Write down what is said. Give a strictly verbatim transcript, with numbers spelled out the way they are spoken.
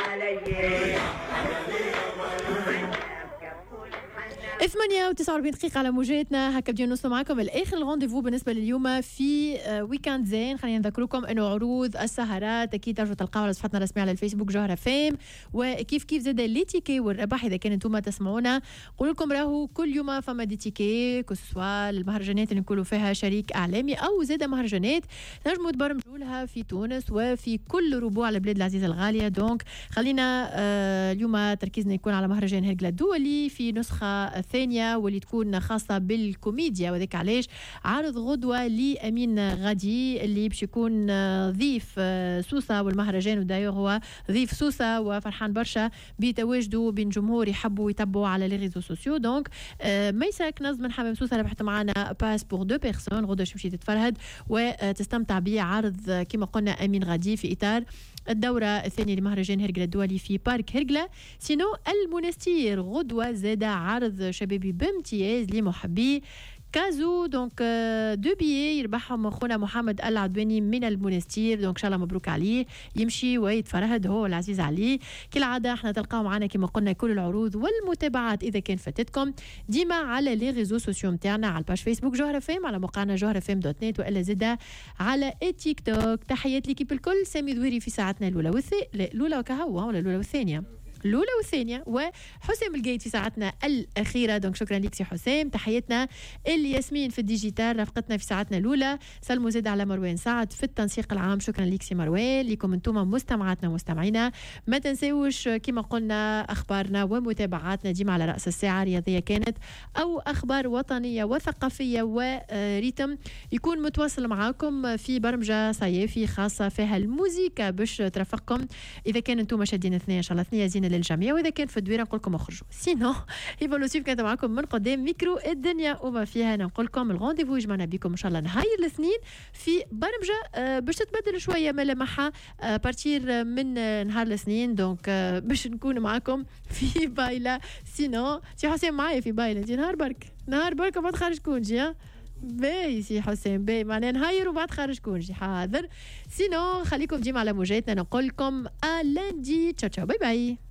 علي. ثمانية وتسعة وأربعين دقيقة على موجاتنا، هكا بدينا نوصلوا معكم لآخر ال rendez-vous بالنسبة لليوم في week-end زين. خلينا نذكركم انه عروض السهرات اكيد ترجعوا تلقاو على صفحتنا الرسمية على الفيسبوك جوهرة فام، وكيف كيف زاد les tickets والربح. اذا كان انتم تسمعونا نقول لكم راهو كل يوم فما des tickets، que ce soit المهرجانات اللي نقولوا فيها شريك اعلامي او زاد مهرجانات تنجموا تبرمجوا لها في تونس وفي كل ربوع البلاد العزيزة الغالية. donc خلينا آه، اليوم تركيزنا يكون على مهرجان هرقلة الدولي في نسخة الثانية واللي تكون خاصة بالكوميديا، وذاك علاش عرض غدوة لأمين غادي اللي باش يكون ضيف سوسة والمهرجان، و d'ailleurs هو ضيف سوسة وفرحان برشا بتواجده بين جمهور يحبوا يتبعوا على les réseaux sociaux. donc ميسا كنز من حمام سوسة ربحت معنا pass pour deux personnes غدوة باش تمشي تتفرهد وتستمتع بعرض كما قلنا أمين غادي في إطار الدورة الثانية لمهرجان هرقلة الدولي في parc هرقلة. sinon المونستير غدوة زاد عرض شبابي بامتياز لمحبي كازو، donc deux billets يربحهم خونا محمد العدواني من المونستير. donc ان شاء الله مبروك عليه، يمشي ويتفرهد هو العزيز عليه. كالعادة احنا تلقاو معنا كما قلنا كل العروض والمتابعات اذا كان فاتتكم ديما على les réseaux sociaux نتاعنا، على ال page فيسبوك جوهرة فام، على موقعنا جوهرة فام dot net، والا زاده على تيك توك. تحيات l'équipe الكل، سامي ذويري في ساعتنا الاولى والثانية، الاولى وكهو ولا الاولى والثانية، الاولى والثانيه، وحسام القايد في ساعتنا الاخيره. donc شكرا لك سي حسام. تحياتنا الياسمين في ال digital رافقتنا في ساعتنا الاولى. سلموا زاد على مروان سعد في التنسيق العام، شكرا لك سي مروان. لكم انتم مستمعاتنا ومستمعينا، ما تنساوش كما قلنا اخبارنا ومتابعاتنا ديما على راس الساعة، رياضية كانت او اخبار وطنية وثقافية و rythme يكون متواصل معاكم في برمجة صيافي خاصة فيها الموزيكا باش ترافقكم. اذا كان انتم شادين اثنين ان شاء الله ثنيه زينة للجميع، واذا كان في الدويره نقول لكم اخرجوا. sinon هبه لوسيف كانت معكم من قدام ميكرو الدنيا وما فيها. نقول لكم ال rendez-vous يجمعنا بكم ان شاء الله نهار الاثنين في برمجة آه، باش تتبدل شوية ملامحها à partir من نهار الاثنين، donc آه، باش نكون معكم في بايله. sinon سي حسين معايا في بايله انت نهار برك، نهار برك وبعد خارج congé. باهي سي حسين باهي، معناها نهاير وبعد خارج congé حاضر. sinon خليكم ديما على موجاتنا، نقول لكم à lundi، ciao ciao، bye bye.